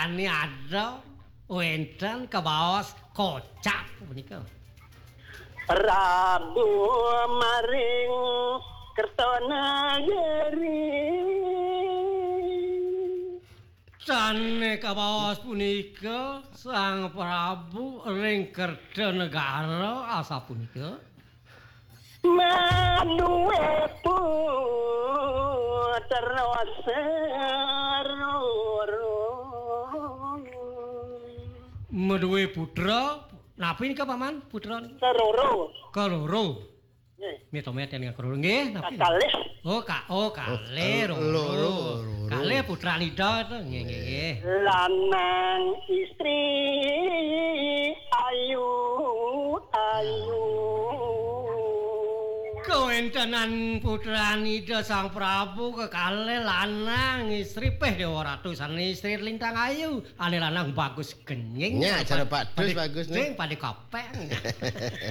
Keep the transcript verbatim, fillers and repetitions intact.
Ane ada wenten kabaos kocap punika. Prabu maring Kertanagari. Sane kabaos punika Sang Prabu ring Kertanegara asapunika. Maduwe putra seroro. Maduwe putra, napi nika, Paman? Putra Seroro. Kaloro. Nggih. Mita meten kaloro nggih, napi? Kakalih. Oh, ka, oh, kalih, oh, loro. Loro, loro. Kalih putranida to, nggih, nggih, nggih. Lanang istri ayu, ayu. Kawentenan putranida Sang Prabu kekalih lanang istri, peh Dewa Ratu sane istri lintang ayu. Ane lanang bagus kenying. Nya, cara padus bagus, nih. Jeng pada kopeng.